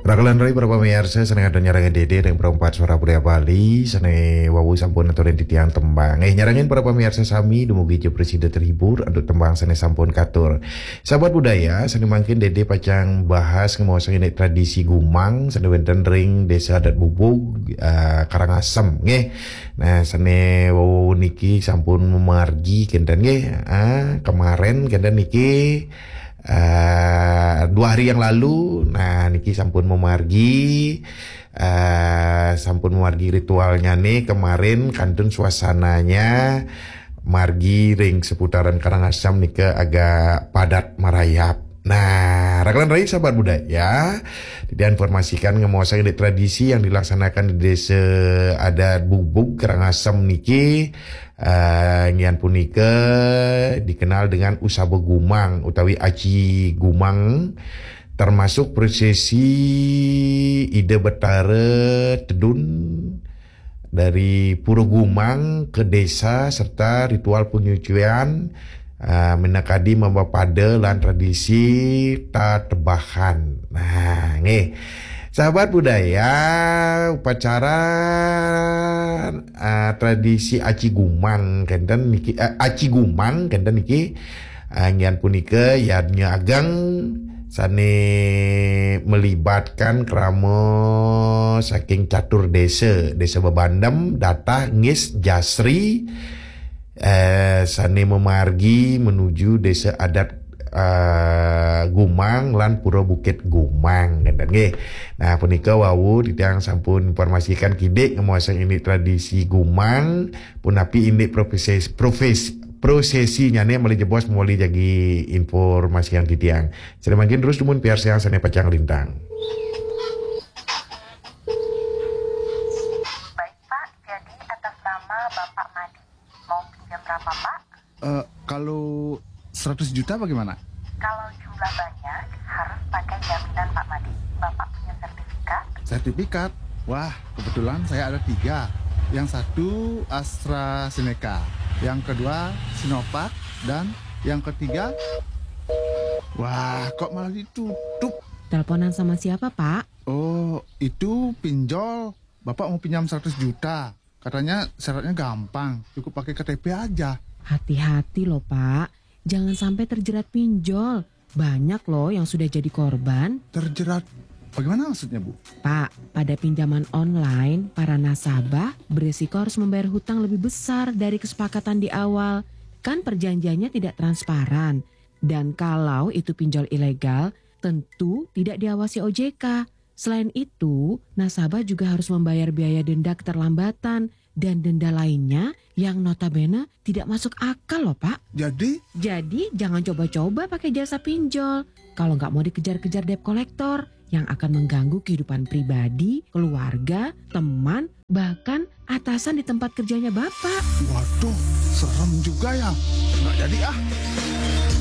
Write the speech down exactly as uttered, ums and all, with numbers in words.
Rakelan rai para pamiarsa, sané ngadon nyarengin Dédé ring Perempat Suara Budaya Bali, sané wau sampun aturin titiang tembang. Eh, nyarengin para pamiarsa sami, dumugi ja prasida terhibur antuk tembang sané sampun katur. Sahabat budaya, sané mangkin Dédé pacang bahas ngemaosang indik tradisi gumang sané wénten ring Désa Adat Bubug, eh, Karangasem, nggih. Nah, sané wau niki sampun mamargi kénten nggih. Ah, kemarin kénten niki, eh, dua hari yang lalu, nah, niki sampun mamargi, eh, sampun mamargi ritualnya nih kemarin, kantun suasananya margi ring seputaran Karangasem nika agak padat marayap. Nah, rakelan rai sahabat budaya, diinformasikan ngemaosang indik tradisi yang dilaksanakan di Désa Adat Bubug Karangasem niki, eh, ngian punika dikenal dengan Usaba Gumang utawi Aci Gumang, termasuk prosesi Ida Betara Tedun dari Pura Gumang ke desa serta ritual penyucian, eh, minakadi mabapada lan tradisi tatebahan. Nah, nggih. Sahabat budaya, upacara, eh, tradisi Aci Gumang kénten niki, eh, Aci Gumang kénten niki, eh, ngian punika yadnya ageng sané melibatkan krama saking catur désa, Désa Bebandem, Datah, Ngis, Jasri, eh, sané mamargi menuju Désa Adat, eh, Gumang lan Pura Bukit Gumang, kénten nggih. Nah, punika wau titiang sampun informasikan kidik ngemaosang indik tradisi gumang, punapi indik profesi, profesi, prosesinyané malih jebos malih jagi informasian titiang. Sané mangkin terus dumun piarsayang sané pacang lintang. Baik, Pak, jadi atas nama Bapak Madi. Mau pinjam berapa, Pak? Eh, kalau seratus juta bagaimana? Kalau jumlah banyak, harus pakai jaminan, Pak Madi. Bapak punya sertifikat? Sertifikat? Wah, kebetulan saya ada tiga. Yang satu AstraZeneca, yang kedua Sinovac, dan yang ketiga, wah, kok malah ditutup? Teleponan sama siapa, Pak? Oh, itu pinjol. Bapak mau pinjam seratus juta. Katanya syaratnya gampang, cukup pakai K T P aja. Hati-hati loh, Pak. Jangan sampai terjerat pinjol. Banyak loh yang sudah jadi korban. Terjerat? Bagaimana maksudnya, Bu? Pak, pada pinjaman online, para nasabah beresiko harus membayar hutang lebih besar dari kesepakatan di awal. Kan perjanjiannya tidak transparan. Dan kalau itu pinjol ilegal, tentu tidak diawasi O J K. Selain itu, nasabah juga harus membayar biaya denda keterlambatan dan denda lainnya yang notabene tidak masuk akal loh, Pak. Jadi, Jadi, jangan coba-coba pakai jasa pinjol kalau nggak mau dikejar-kejar debt collector yang akan mengganggu kehidupan pribadi, keluarga, teman, bahkan atasan di tempat kerjanya Bapak. Waduh, serem juga ya. Nggak jadi ah.